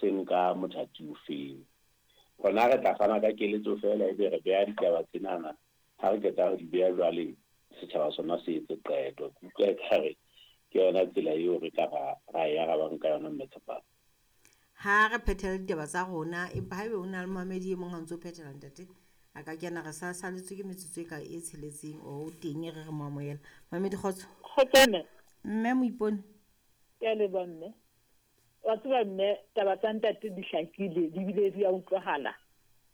Se nka mothati ofeng. Rona re tla fana ka keletso feela ebe re beha ditaba tsenana, ha re qeta ho di beha jwale setjhaba sona se etse qeto. Ke utlwa ekare ke yona tsela eo re ka ra ra e arabang ka yona Mme Tshepang. Ha re phethele ditaba tsa rona, empa haebe ho na le momamedi e mong ha ntso phethela ntate, a ka kena re sa saletswe ke metsotso e ka e tsheletseng o teng e re re mo amohela. Mamedi kgotso. Kgotso mme. Mme Moipone. Ke a leboha mme. Wa tseba mme taba tsa ntate di hlakile di bile di a utlwahala.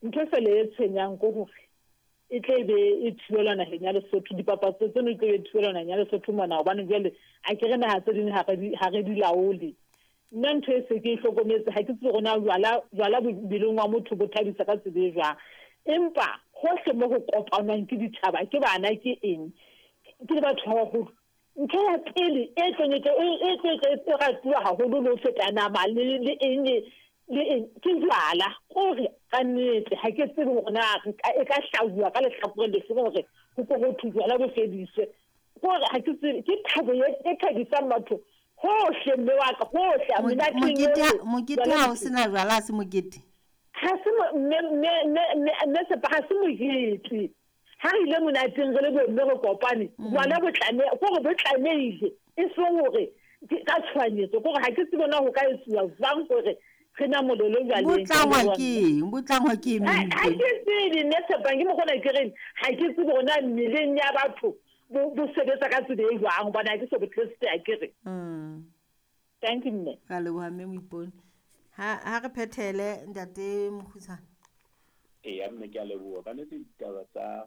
Ntho fela e tshwenyang ke hore e tle be e thibelwa naheng ya Lesotho, dipapatso tseno di tle be thibelwa naheng ya Lesotho mona hobane jwale a ke re naha tse ding ha re di laole. Nna ntho e se ke e hlokometse ha ke tsebe hore na jwala jwala mmeleng wa motho bo thabisa ka tsela e jwang. Empa hohle mo ho kopanwang ke ditjhaba ke bana ke eng ke le batho ba baholo. Ntho ya pele e tlong e e tlo e ratuwa haholo le ho feta nama le le eng le eng ke jwala. Kore ka nnete ha ke tsebe hore na e ka hlabuwa ka lehlakoreng lefe hore ho ko ho thwe jwala bo fediswe. Kore ha ke tsebe ke thabo e thabisang batho hohle mme wa ka hohle menateng yohle. Mokete ha o sena jwala ha se mokete. Ha se mme mme mme mme Sepa ha se mokete. Ha re ile monateng re le bomme re kopane, jwala bo tlameha kore bo tlamehile e seng hore ka tshohanyetso kore ha ke tsebe na ho ka etsuwa jwang hore re namolelwe jwaleng. Bo tlangwa ke eng? Bo tlangwa ke eng? Ha ke tsebe nne Tshepang ke mokgwa ona ke reng ha ke tsebe hore na mmeleng ya batho bo sebetsa ka tsela e jwang hobane ha ke so bo teste akere. Thank you mme. Ra leboha mme Moipone. Ha re phethele ntate Mokgutshwane. Eya mme ke a leboha. Ka nnete ditaba tsa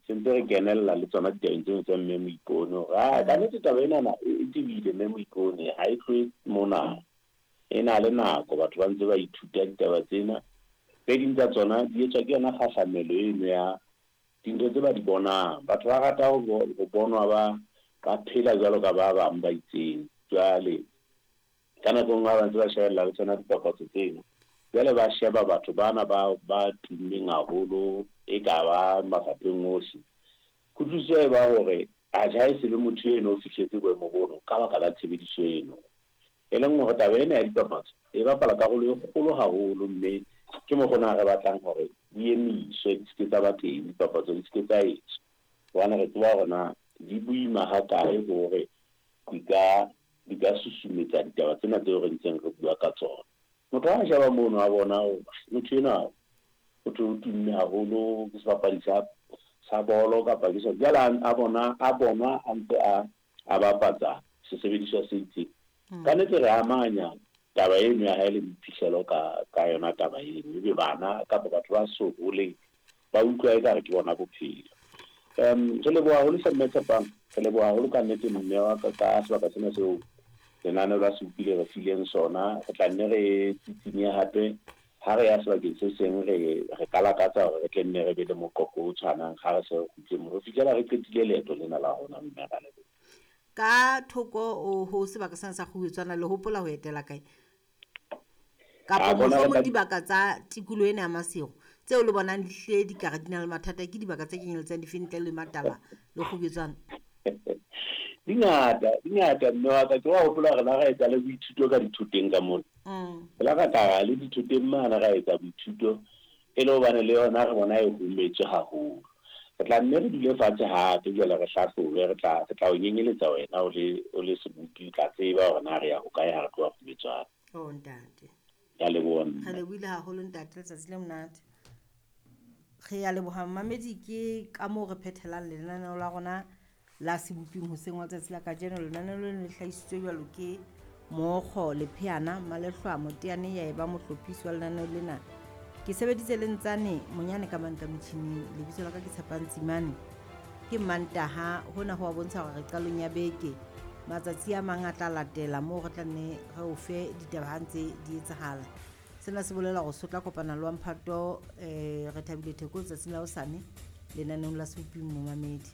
sentse re kenella le tsona ditabeng tseno tsa mme Moipone hore a ka nnete taba enana e tebile mme Moipone ha e tlohe mona. E na le nako batho ba ntse ba ithuta ditaba tsena. Tse ding tsa tsona di etswa ke yona kgahlamelo eno ya dintho tse ba di bonang. Batho ba rata ho bonwa ba ba phela jwalo ka ba bang ba itseng. Jwale ka nako e nngwe ha ba ntse ba shebella le tsona dipapatso tseno, jwale ba sheba batho bana ba ba tummeng haholo e ka ba mafapheng ohle. Kutlwisiso e ba hore atjhe ha e se le motho eno o fihletse boemo bono ka baka la tshebediso eno. E leng hore taba ena ya dipapatso e bapala karolo e kgolo haholo mme ke mokgwa ona re batlang hore di emiswe di se ke tsa ba teng dipapatso di se ke tsa etswa. Hobane re tseba hore na di boima hakae hore di ka di ka susumetsa ditaba tsena tseo re ntseng re bua ka tsona. Motho ha a sheba mono a bona motho enwa ho thwe o tumme haholo ke sebapadi sa sa bolo kapa ke jwale a bona a bonwa a ntse a a bapatsa sesebediswa se itseng. Ka nnete re amanya taba eno ya hae le boiphihlelo ka ka yona taba eno. Ebe bana kapa batho ba so holeng ba utlwa ekare ke bona bophelo. Re leboha haholo hle mme Tshepang, re leboha haholo ka nnete mme wa ka ka sebaka sena seo lenaneo la Sebopi le re fileng sona. Re tla nne re tsitsinye hape ha re ya sebakeng se seng re re ka lakatsa hore re tle nne re be le moqoqo o tshwanang ha re se re kgutle moo ho fihlela re qetile leeto lena la rona mme ra leboha. Ka thoko ho sebaka sena sa Kgubetswana le hopola ho etela kae? Kapa mohlomong dibaka tsa tikoloho ena ya Maseru tseo le bonang di hlile di ka re di na le mathata ke dibaka tse kenyeletsang dife ntle le Matala le Kgubetswana? Di ngata, di ngata mme wa ka. Ke wa hopola hore la ra etsa le boithuto ka dithoteng ka mona. Re la ra tla le dithoteng mane ra etsa boithuto e le hobane le yona re bona e hometswe haholo. Re tla nne re dule fatshe hape jwale re hlahlobe re tla re tla o nyenyeletsa wena o le o le sebopi o tla tseba hore na re ya hokae ha re tloha Kgubetswana. Oh ntate. Ke a leboha mme. Re lebohile haholo ntate letsatsi le monate. Re a leboha mmamedi ke ka moo re phethelang lenaneo la rona la Seboping hoseng wa letsatsi la kajeno. Lenaneo leno le hlahisitswe jwalo ke Mookgo Lepheana Malehlwa Moteane ya eba mohlophisi wa lenaneo lena. Ke sebeditse le Ntsane Monyane ka mantla motjhining. Lebitso la ka ke Tshepang Tsimane. Ke Mantaha hona ho a bontsha hore re qalong ya beke. Matsatsi a mang a tla latela moo re tla nne re o fe ditaba ha ntse di etsahala. Sena se bolela hore so tla kopana le wa mphato Rethabile Theko letsatsing la hosane lenaneong la Seboping momamedi.